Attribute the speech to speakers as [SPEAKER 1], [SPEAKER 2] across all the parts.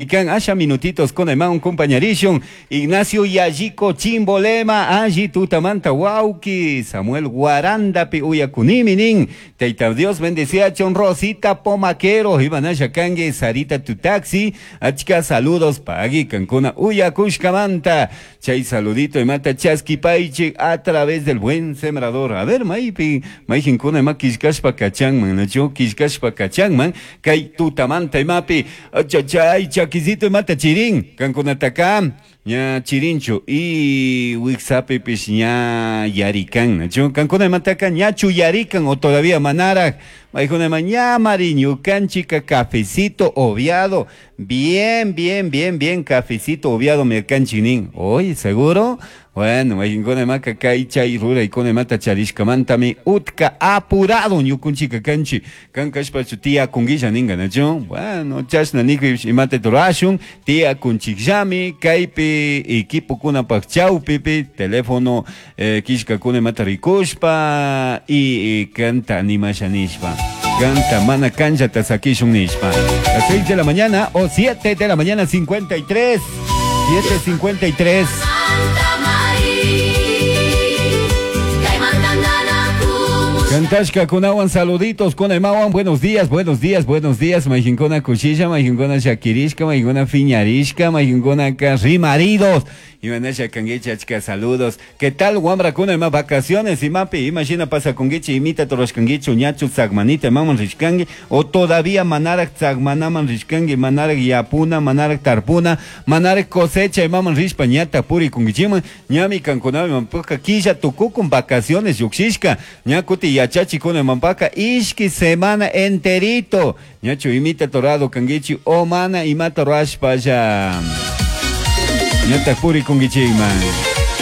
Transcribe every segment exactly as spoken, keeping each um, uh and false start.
[SPEAKER 1] Ikan asha minutitos con un compañerishon Ignacio Yalliko Chimbolema alli tutamanta wauki Samuel Guarandapi uyakunimi nin Taita Dios bendeciachon Rosita Pomaquero Ibanasha kangue Sarita Tutaxi achka saludos pagui kankuna uyakushkamanta chay saludito imata chaski paichi a través del buen sembrador. A ver, maypi mayjinkuna ima killkashpa kachanman nachu killkashpa kachanman kay tutamanta imapi achachay chakisito imata chirin kankunataka ña chirinchu y wixapipish ña yarikan nachu kankuna imataka ñachu yarikan o todavía manaraj maykuna ima ña mari ñukanchika cafecito obviado bien bien bien bien cafecito obviado mirkanchik nin. Oye, seguro. Bueno, maykinkuna imaka kay chay ruraykuna imata charishkamantami utka apurado ñukunchika kanchi kan kashpachu tiyakunguilla ninga nachu. Bueno, chashna nikpipish imata rurashun tiyakunchikllami kaypi equipokunapak chawpipi teléfono eh, killkakuna imata rikushpa y, y kanta animasha nishpa canta mana cancha sakishun nishpa. Las seis de la mañana o siete de la mañana cincuenta y tres, siete cincuenta y tres. Cantashka kunawan saluditos con emawan, buenos días, buenos días, buenos días. Mayjinkuna kushilla, mayjinkuna shakirishka, mayjinkuna fiñarishka, mayjinkuna rimaridos imanasha kanguicha, achka saludos. ¿Qué tal, wamrakuna? Ima vacaciones imapi imashina pasa kunguichi? Imita torashkanguichu? Ñachu tzagmanita imaman rishkangi o todavía manarak tzagmanaman rishkangi, manarak yapuna, manarak tarpuna, manarak cosecha imaman rishpa ñata purikunguichiman? Ñami kankunami imanpaka killa tukukun, vacaciones llukshishka, ña kuti yachachikuna imanpaka ishki semana enterito. Ñachu imita torado kanguichi o mana imata rashpalla ñata purikunguichikman?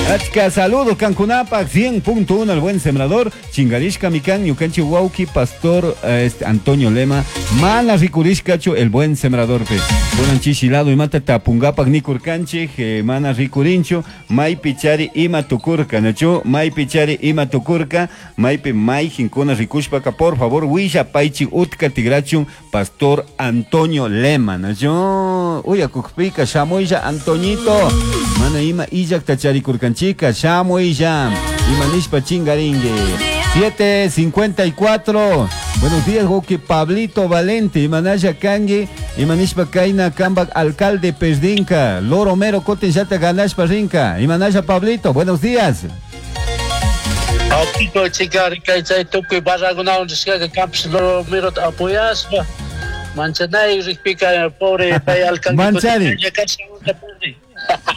[SPEAKER 1] Achka saludos kankunapak cien punto uno El Buen Sembrador. Chingarishka mikan ñukanchi wauki pastor este, Antonio Lema mana rikurishkachu El Buen Sembrador pe. Kunan chishilado imata tapungapak nikurkanchik eh, mana rikurinchu. Maypi chari ima tukurka nachu? Maypi chari ima tukurka? Maypi mayjinkuna rikushpaka, por favor willapaychik utka tigrachun pastor Antonio Lema nachu. Uyakukpika shamuylla, Antoñito. Mana ima illakta charikurkanchika, shamuylla. Ima nishpa chingaringue. siete cincuenta y cuatro. Buenos días, wauki Pablito Valente. Imanalla kangi? Imanishpa kaina kambak alcalde perdinka? Loro mero kutin llata ganashpa rinka. Imanalla, Pablito, buenos días.
[SPEAKER 2] Autito chica kay chay tukuy barrakunawan rishkaka kampis loro mero apoyashpa manchanay rikpika pobre pay alcalde.
[SPEAKER 1] Manchari.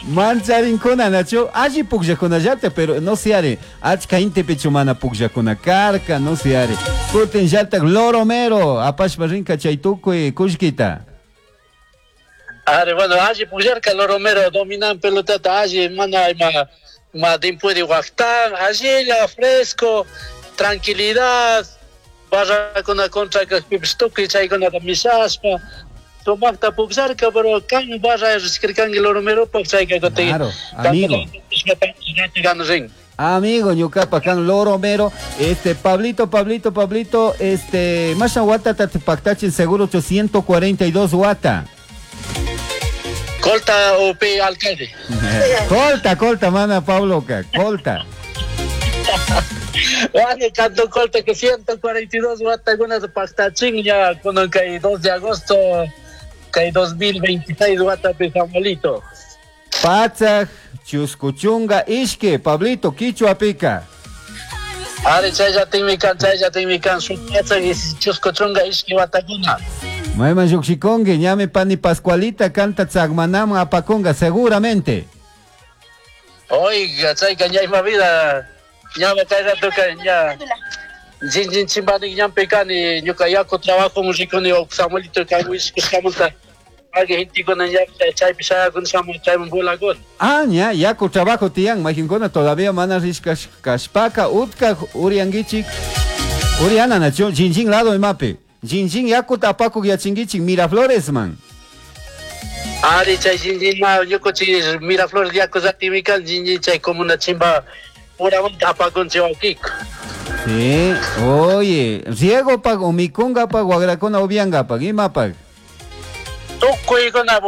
[SPEAKER 1] Mancharinkuna nachu? Alli pukllakunallata, pero no se are achka intipichu mana pukllakuna karka, no se are kutin llatak loro mero apashpa rinka chay tukuy kullkita.
[SPEAKER 2] Are, bueno, alli pukllarka loro mero, dominan pelotata alli, mana ima ma dimpuede waqtan allilla fresco, tranquilidad, barrakuna contra kajpipis tukuy chaykunata mishashpa sumakta pukllarka, pero kan barra rishkirkanki loro meropaq chayka kutin
[SPEAKER 1] Claro, amigo.
[SPEAKER 2] Rin.
[SPEAKER 1] Amigo, ñukapa kan loro mero, este Pablito, Pablito, Pablito, este, masha wata tatipactachin seguro ochocientos cuarenta y dos wata.
[SPEAKER 2] Colta o P alcalde.
[SPEAKER 1] Colta, colta, mana Pablo, colta.
[SPEAKER 2] Bueno, canto colta que ciento cuarenta y dos watakunata pactachin ya con kay dos de agosto kay dos mil veintiséis watapi, Samuelito.
[SPEAKER 1] Patsaj, chuskuchunga, ishki, Pablito, quichua pika.
[SPEAKER 2] Ari, chayllatinmi kan, chayllatinmi kan, shuk patsak chusku chunka ishki watakuna.
[SPEAKER 1] Mayman llukshikunki, ñami pani Pascualita kanta tzagmanaman apakunga, seguramente.
[SPEAKER 2] Oiga, chayka ña ima vida, ña kay ratoka ña Jinjin chimbanik ñampi kani, ñuka yaku trabajo rikuni Samuelito kan wishkushkamanta Alguien gentekuna ña chaypi shayakun shamun chayman volakun.
[SPEAKER 1] Ah, ña, yaku trabajo tiyan, mayjinkuna todavía mana rishkash kashpaka, utka urianguichik. Uriana nachu, jinjin lado imapi. Jinjin yaku tapakuk yachinguichik Miraflores man.
[SPEAKER 2] Ari, chay jinjin ma ñukuchik Miraflores yaku ratimi kan jinjin chay comuna chimba puramanta apakunchik wawkiko.
[SPEAKER 1] Sí, oye, riego pag o mikunga pag wagrakuna ubianga pag imapag.
[SPEAKER 2] Tukuykuna